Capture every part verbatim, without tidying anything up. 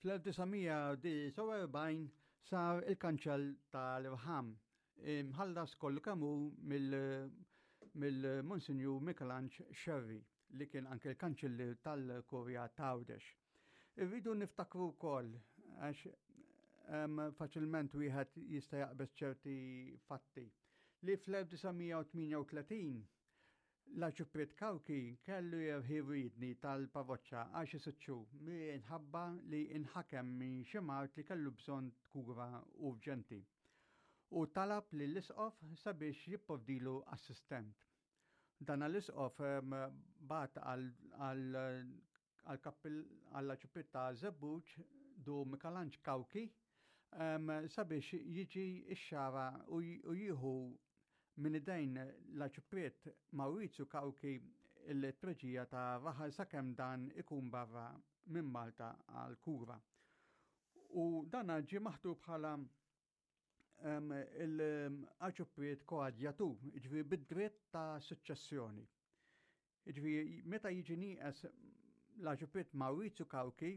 Fl-elf disa' mija disgħa u erbgħin sar il-kanċell tal-irħam, imħallas kollu kemm hu mill-Monsinjur Mikelanġ Xerri, li kien anke l-kanċellier tal-Kurja ta' Għawdex. Irridu niftakru wkoll, għax faċilment wieħed jista' jaqbeż ċerti fatti, li fl-elf disa' mija u tmienja u tletin l-Arċipriet Cauchi kellu jerħi riedni tal-parroċċa għal xi sitt xhur minħabba li inħakem minn xi mard li kellu bżonn kura urġenti u talab lill-isqof sabiex jipprovdilu assistent. Dan l-isqof bagħat għall-Arċipriet ta' Żebbuġ du Mikelanġ Cauchi sabiex jiġi x-Xagħra u jieħu minn idejn l-Arċipriet Maurizio Cauchi il-treġija ta' raħal sakemm dan ikun barra minn Malta għal kura. U dan ġie maħtur bħala l-Arċipriet koadjatur, jiġifieri bid-dritt ta' suċċessjoni. Jiġifieri meta jiġi nieqes l-Arċipriet Maurizio Cauchi,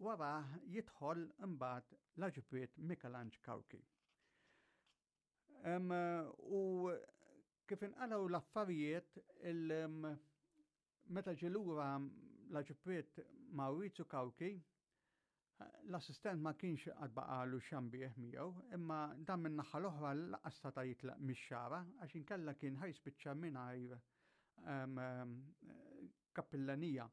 wara jidħol imbagħad l-Arċipriet Mikelanġ Cauchi. Em, u kif inqalgħu l-affarijiet, il-, meta ġie lura l-Arċipriet Maurizio Cauchi, l-assistent ma kienx għad baqalu xambieħ miegħu, imma dan minn naħa l-oħra lanqas seta' jitlaq mix-Xagħra għax inkella kien ħajspiċċa mingħajr, em, em, kappillanija.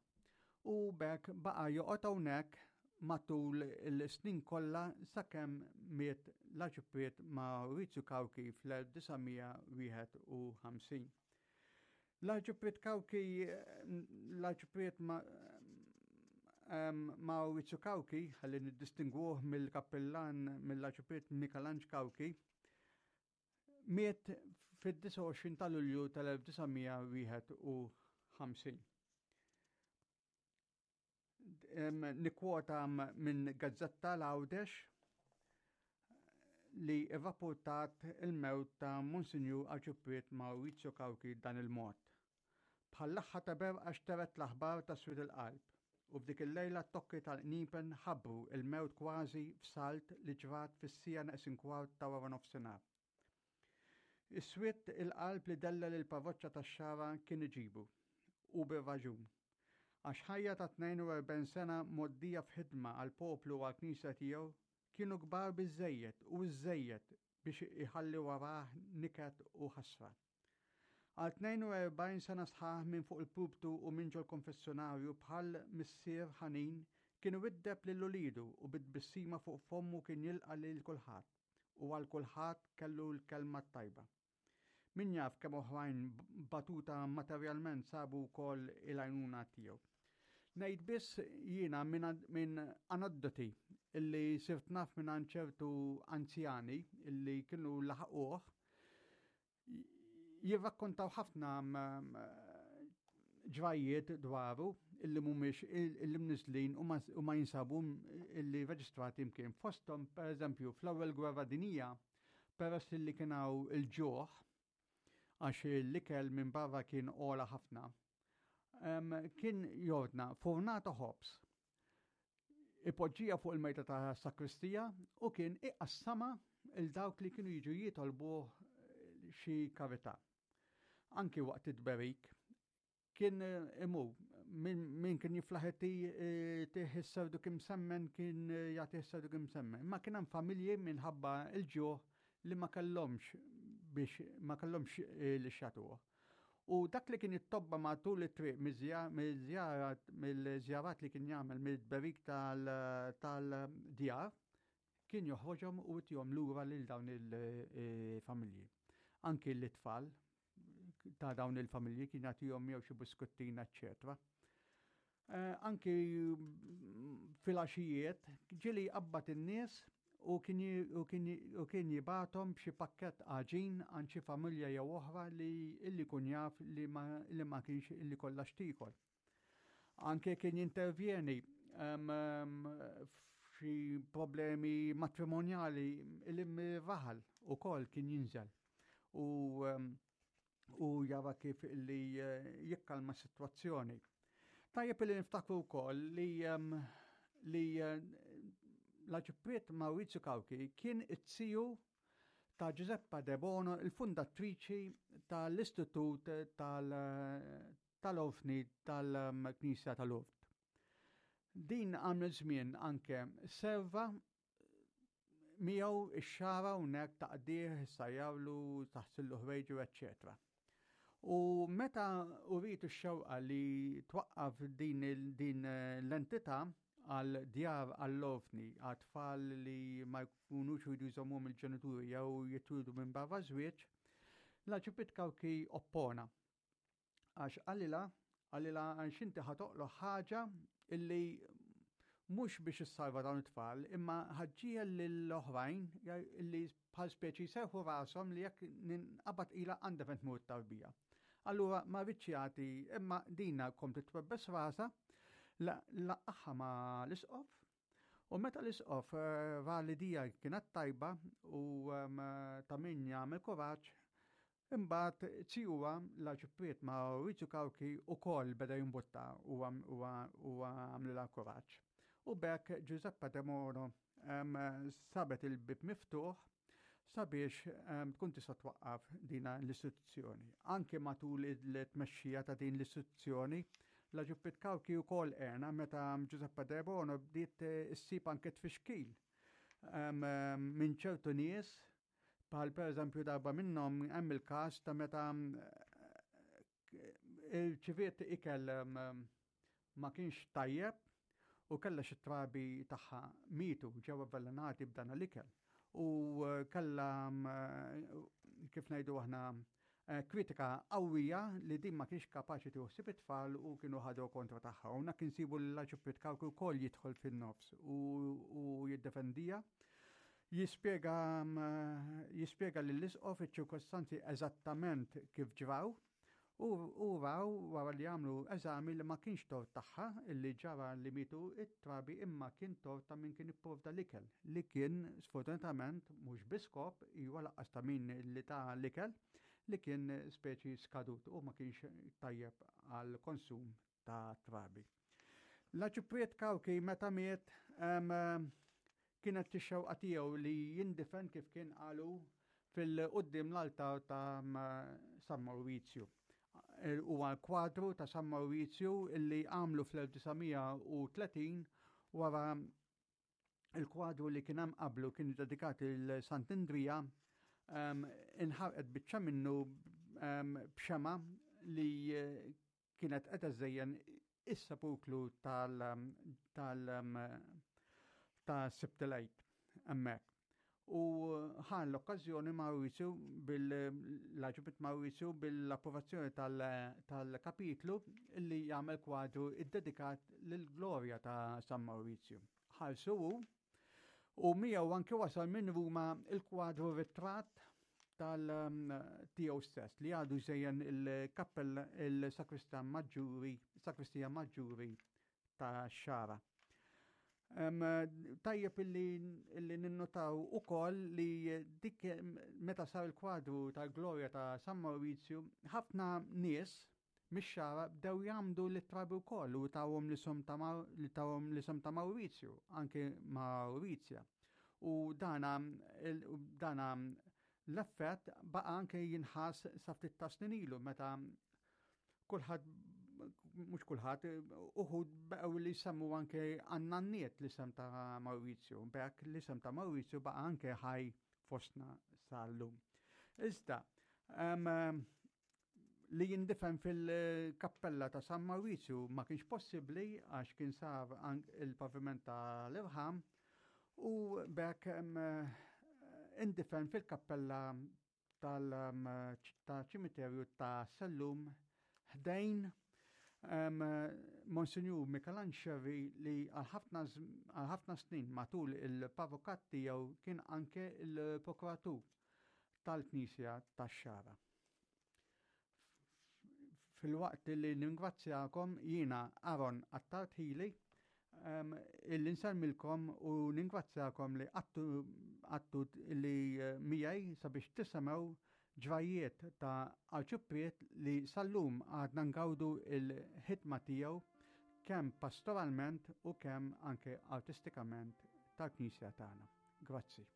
U b'hekk baqa' joqgħod hawnhekk matul il-snin kollha sakemm miet l-Arċipriet Maurizio Cauchi fl-elf disa' mija wieħed u ħamsin. L-Arċipriet Cauchi, l-Arċipriet ma-, em, Maurizio Cauchi, ħalli niddistingwuh mill-kappillan mill-Arċipriet Mikelanġ Cauchi, miet fid-disgħa u għoxrin ta' Lulju tal-elf disa' mija wieħed u ħamsin. Em, nikkwota minn Gazzetta l-Għawdex li rrapportat il-mewt ta' Monsinjur Arċipriet Maurizio Cauchi dan il-mod. Bħall-aħħar ta' berqa xteret l-aħbar ta' Swied il-Qalb u f'dik il-lejla t-tokki tal-qniepen ħabbru il-mewt kważi f'salt li ġrat fis-sija neqsin kwart ta' wara nofsinhar. Is-swied il-qalb li della lil parroċċa tax-Xagħra kien iġibu u bir-raġun. Għax ħajja ta' tnejn u erbgħin sena mgħoddija f'ħidma għal poplu u għall-knisja tiegħu kienu kbar biżżejjed u iżżejjed biex iħalli warah niket u ħasra. Għal tnejn u erbgħin sena sħaħ minn fuq il-pulptu u minn ġol-konfessjonarju bħal missier ħanin kien iwiddeb lil ulidu u bit-tbissima fuq fommu kien jilqa' lil kulħadd u għal kulħadd kellu l-kelma t-tajba. Min jaf kemm oħrajn batuta materjalment sabu wkoll il-għajnuna tiegħu. Ngħid biss jiena minn ad-, minn aneddoti illi sirt naf minn għand ċertu anzjani illi kienu laħquh jirrakkontaw ħafna m-, m-, ġrajiet dwaru illi mhumiex il-, illi mniżlin u ma s-, u ma jinsabu m-, illi reġistrati mkien. Fosthom, per eżempju, fl-ewwel gwerra dinija, peress illi kien hawn il-ġuħ, għax l-ikel minn barra kien ogħla ħafna, em, kien jordna fornata ħobż, ipoġġija fuq il-mejda ta' sakristija u kien iqassama il dawk li kienu jiġu jitolbuh xi karità. Anki waqt it-tberik kien imur min, min kien jiflaħ tih is-serdu kim semmen kien jagħti s-serdu kim semmen. Ma kien hemm familji minħabba l-ġuħ li ma kellhomx biex ma kellhomx li xatuh. U dak li kien jittobba matul it-triq miż-żjarat, mill-żjarat li kien jagħmel mill-tberik tal-, tal-djar kien joħroġhom u jtihom lura lil dawn il-familji. Anki l-itfal ta' dawn il-familji kien jagħtihom jew xi biskuttina, eċċetera. Eh, anki fil-għaxijiet ġieli qabad in-nies u kien ji-, u kien ji-, u kien jibathom b'xi pakkett għaġin għand xi familja jew oħra li illi kun jaf li ma, li ma kienx illi kollha x'tiekol. Anke kien jintervjeni, em, em, f'xi problemi matrimonjali illi mir-raħal ukoll kien jinżel u, em, u jara kif illi, eh, jikkalma s-sitwazzjoni. Tajjeb li niftakru wkoll li, em, li eh, l-Arċipriet Maurizio Cauchi kien it-ziju ta' Giuseppa De Bono, il-fundatriċi tal-Istitut tal-Orfni tal-Knisja tal-Lourdes. Din għamlet żmien anke serva miegħu ix-Xagħra hawnhekk, taqdih, issajjarlu, taħsillu ħwejġu, eċċetera. U meta uriet ix-xewqa li twaqqaf din, din l-entità għal djar għall-orfni, għal tfal li ma jkunux jridu jżommhom il-ġenituri jew jitwieldu minn barra żwieġ, l-Arċipriet Cauchi oppona. Għax qalilha, qalilha għax inti ħa toħloq ħaġa illi mhux biex issalva dawn it-tfal, imma ħa ġġiegħel lill-oħrajn illi bħal speċi serħu rashom li jekk ninqabad ila għandha fejn tmur tarbija. Allura ma riedx jagħti, imma dina kompliet twebbes rasha, laqqagħha ma' l-isqof, u meta l-isqof eh, ra li dija kienet tajba u ta' min jagħmel kuraġġ, imbagħad zijuha l-Arċipriet Maurizio Cauchi ukoll beda jimbutta u għamlilha kuraġġ. U b'hekk Giuseppe De Bono sabet il-bib miftuħ sabiex tkun tista' twaqqaf dina l-istituzzjoni. Anke matul il-tmexxija ta' din l-istituzzjoni, l-Arċipriet Cauchi wkoll għenha meta Giuseppe De Bono bdiet issib anke tfixkil minn ċertu nies, bħal per eżempju darba minnhom hemm il-każ ta' meta irċiviet ikel ma kienx tajjeb u kella xi trabi tagħha mietu, ġew avvelenati b'dan l-ikel. U kella, kif ngħidu aħna, kritika qawwija li din ma kienx kapaċi tieħu ħsieb it-tfal u kienu ħadu kontra tagħha. U hawnhekk insibu l-Arċipriet Cauchi wkoll jidħol fin-nofs u jiddefendija. Jispjega jispjega lill-isqof iċ-ċirkostanzi eżattament kif ġraw u raw wara li għamlu eżami li ma kienx tort tagħha illi ġara li mietu it-trabi, imma kien tort ta' min kien ipprovda l-ikel li kien sfortunatament mhux bi skop, iwa lanqas ta' min li ta l-ikel li kien speċi skadut u ma kienx tajjeb għal konsum ta' trabi. L-Arċipriet Cauchi meta miet kienet ix-xewqa tiegħu li jindifen, kif kien qalu, fil-quddiem l-altar ta' San Maurizio. Huwa l-kwadru ta' San Maurizio illi għamlu fl-elf disa' mija u tletin wara il-kwadru li kien hemm qablu kien dedikat lil Sant'Andrija inħarqet biċċa minnu b'xema li kienet qed iżżejjen is-sepulkru tal tal ta' Sibt il-Għid hemmhekk. U ħa l-okkażjoni Maurizio bil-Arċipriet Maurizio bil-approvazzjoni tal-kapitlu li jagħmel kwadru iddedikat lill-glorja ta' San Maurizio. Ħallsu hu u miegħu anke wasal minn Ruma il-kwadru ritratt tal-tiegħu stess li għadu jżejjen il-kappell il-sakristan maġġuri, sakristija maġġuri ta' Xagħra. Tajjeb illi, illi ninnotaw ukoll li dik meta sar il-kwadru tal-glorja ta' San Maurizio, ħafna nies mix-Xagħra bdew jgħammdu lit-trabi wkoll u tawhom l-isem ta' li tawhom l-isem ta' Maurizio, anke Maurizia. U dana, dana l-effett baqa anke jinħass sa ftit ta' snin ilu meta kulħadd, mhux kulħadd, uħud baqgħu li jsemmu anke għan-nanniet l-isem ta' Maurizio. B'hekk l-isem ta' Maurizio baqa' anke ħaj fostna sal-lum. Iżda, li jindifen fil-kappella ta' San Maurizio ma kienx possibbli għax kien sar il-paviment tal-irħam u b'hekk indifen fil-kappella tal-ċimiterju ta' Sellum ħdejn Monsinjur Mikelanġ Scerri li għal ħafna snin matul il-parrokat tiegħu kien anke il-prokuratur tal-Knisja tax-Xagħra. Filwaqt li ningrazzjakom, jiena Aaron Attard Hili illi nsellmilkom u ningrazzjakom li għattu li eh, miegħi sabiex tisimgħu ġrajiet ta' arċipriet li sal-lum għadna ngawdu il-ħidma tiegħu. kemm pastoralment u kemm anke artistikament tal-Knisja tagħna. Grazzi.